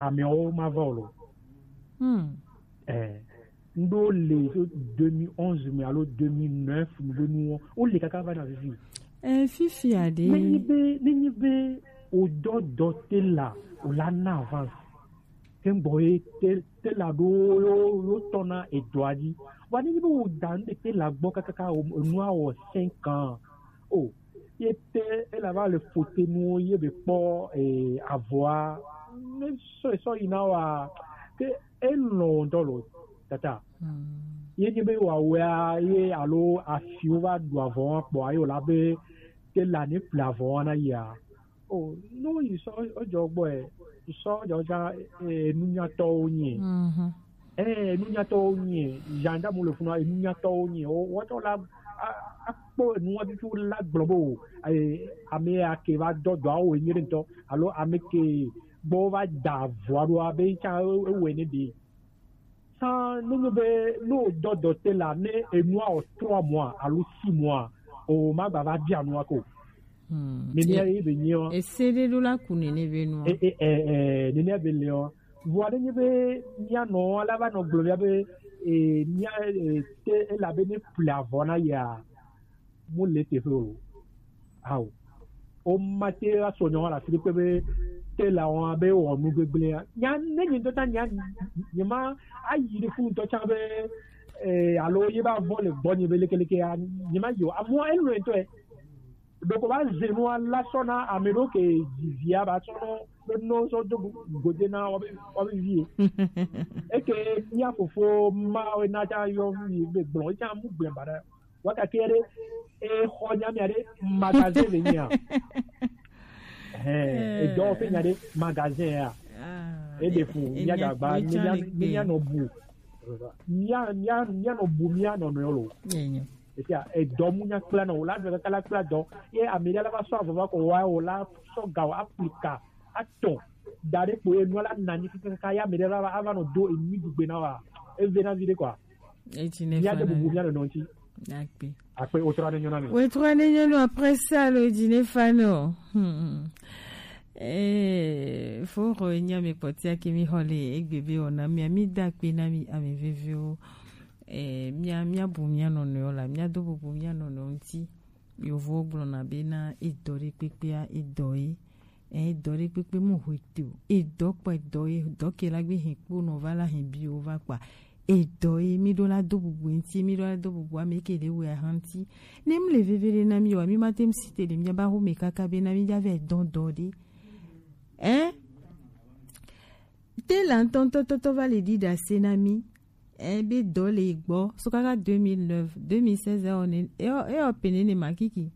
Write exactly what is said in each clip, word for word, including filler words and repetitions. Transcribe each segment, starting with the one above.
Amewo ma va o lo. Hmm. Eh, ndo le so deux mille onze me alo deux mille neuf me be nuwo. O le kaka va na fifi. Eh, fifi a de. Ne nyi be, ne nyi be o dɔ dɔ te la, o la na avance. Ke n gbɔ ye te, te la ɖo yo, yo tɔ na edɔa dzi. Wa ne nyi be o da nu ɖe te la gbɔ kakaka o, enua wɔ cinq ans. O, ye te ela va le fote nuwo ye be kpɔ, eh, avɔa. Ne sɔ sɔ yi na wa ke elɔn ŋutɔ lo tata. Hmm. Ye nye be wa wea ye alo afiwo va ɖu avɔ wa kpɔ ayo la be te la ne ple avɔ wa na yia. O, no yi sɔ ojɔ gbɔ e, sɔ ojɔ ja, eh, nunyatɔwo nye. Mhm. Eh, nunyatɔwo nye, gendarme le funu, eh, nunyatɔwo nye. O, woatsɔ la, a, akpɔ enua tutu la gblɔ be o, eh, ame ya ke va dɔ dɔa wo enye ɖe ŋutɔ, alo ame ke gbɔ va da avɔa ɖoa be ŋutsa e, ewɔe ne ɖe. San ne nyo be, ne o dɔ dɔ te la, ne enua o trois mois alo six mois, o ma gba va bia nua ko. Hmm. Nenea ye be nyi o. Ese ɖe ɖo la ku nene be nua. E, e, e, e, nenea be le o. Vɔa ɖe nye be mía nɔ la va nɔ gblɔ mía be, e, mía, e, te elabe ne ple avɔ na yia, mu le teƒe o. Ao. O ma te asɔ nyɔ la fi pe be te la wa be wɔ nu gbegblẽ ya. Nya ne nyi ŋutɔ ta nya, nye ma ayi ɖe fu ŋutɔ tsã be, e, alo ye ba vɔ le gbɔ nye be lekeleke ya, nye ma yi o. Amewo enu ŋutɔ e. Ɖeko va ze nua la sɔ na ame ɖo ke dzivia ba sɔ nɔ be nɔ sɔ do gode na wa be, wa be vie. Eke mía fofo ma we na ta yɔ vi be gblɔ, etsã mu gblẽ ba ɖe. Wa ka ke ɖe, e xɔ nya mia ɖe magasin le nyia. Hɛn, e dɔ fe nya ɖe magasin ya. Ah, e de fu, e, e mía nya, gagba, e nya mía, le gbe. Mía nɔ bu. Mía, mía, mía nɔ bu, mía nɔ nɔ lo. Enyo. Esia, edɔ mu nya kpla nɔ, o la dɔ kaka la kpla dɔ. Ye ame ɖe la va sɔ avɔ va ko wa, o la sɔ ga o aplika atɔ. Da ɖe kpo ye nua la na nyi kaka kaka, ya ame ɖe la va, ava nɔ do enu dugbe na wa. Eve na vi ɖe kɔa. Eti ne mía de fa bubu na mía nɔ nɔ ŋuti. Akpe. Akpe, o tura ne nyɔ na mi. O tura ne nyɔ nɔ après ça, lo di ne fa nɔ. Hmm. Eh, fo ro nya mi kpɔtia ke mi xɔ le egbe be o na mi, mi da akpe na mi ame veviwo. Eh, mía, mía bu mía nɔnɔewo la, mía do bubu mía nɔnɔewo ŋuti. Yovowo gblɔna bena edɔ ɖe kpekpea, edɔ ye. Eh, edɔ ɖe kpekpe mu hwe te o. Edɔ kpa edɔ ye, dɔ ke la gbe hɛn kpo nɔ va la hɛn bi o va kpa. Edɔ ye, mi ɖo la do bubu ŋuti, mi ɖo la do bubu ame ke ɖe wɛ ahan ŋuti. Ne mi le veve ɖe na mi wa, mi ma te mi si te ɖe mía ba xo me kaka bena mi dza vɛ dɔn dɔ ɖe. Eh? Te la ŋutɔ ŋutɔ tɔtɔ va le ɖiɖa se na mi. Eh, be dɔ le gbɔ. So kaka deux mille neuf, deux mille seize, ewɔ ne, ewɔ, ewɔ pe nene ma kiki.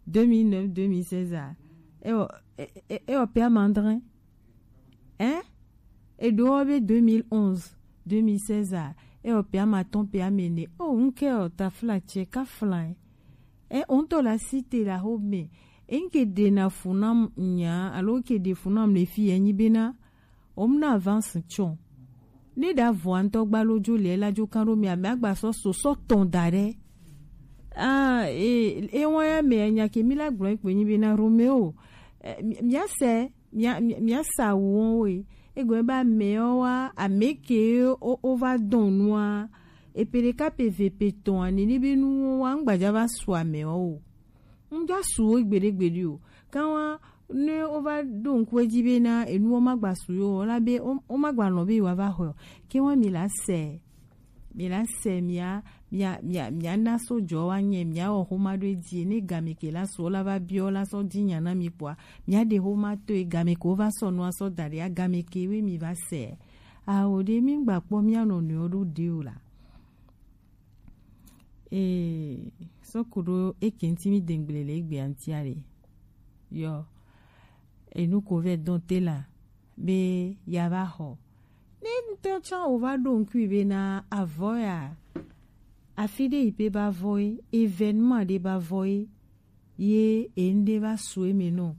Deux mille neuf, deux mille seize a. Ewɔ, e, e, ewɔ pe amandrin. Hein? Eɖo be deux mille onze, deux mille seize a. Ewɔ pe amatɔn pe amene. O, nke o tafla che ka flan. Eh, o ŋutɔ la si te la xo me. E nke ɖe na fu na nya, alo nke ɖe fu na le fi enyi bena. O mu na avance tsɔ. Ne ɖa vɔa ŋutɔ gba lo dzo le la dzo kan ɖo mi ame agba sɔ so sɔ tɔn da ɖe. Ah, e, e wɔn ya me nya ke mi la gblɔ kpe nyi be na Romeo. Eh, mi, mia se, mia, mia, mia sa wɔn we. Egbe ba me wa, ame ke o, o va dɔn nua. Epe ɖeka pe ve pe tɔn ani ni be nu wa ŋgbadza va su ame o. Ŋdza su wo gbeɖe gbeɖe o. Kanwa ne wova ɖo ŋku edzi bena enuwo magba su yo o, la be wo, womagba lɔ̃ be yewoava xɔe o. Ke wa mi la se, mi la se mia, mia, mia, mia na so jɔ wa nye, mia wɔ xoma ɖo edzi, ne game ke la su wo la va biɔ la sɔ di nya na mi kpɔa, mia ɖe xoma to e game ke wova sɔ nua sɔ da ɖe a game ke we mi va se. Awo ɖe mi gba kpɔ mia nɔnɔewo ɖo ɖe o la. Ee, sɔkuɖo eke ŋuti mi dengble le egbea ŋutia ɖe. Yɔ, enu ko vɛ dɔn te la be ya va xɔ. Ne ŋutɔ tsã o va ɖo ŋkui be na avɔ ya, afi ɖe yi pe ba vɔ ye, événement ɖe ba vɔ ye, ye enuɖe va su eme nɔ.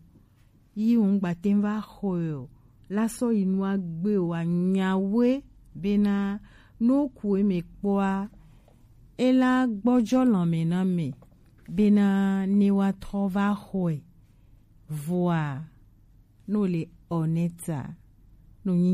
Yi ŋgba te va xɔe o. La sɔ yi nua gbe o, anyawoe bena no ku eme kpɔa, ela gbɔjɔ lãme na me bena ne wa trɔ va xɔe. Vɔa, no le honnête a, nunyinya.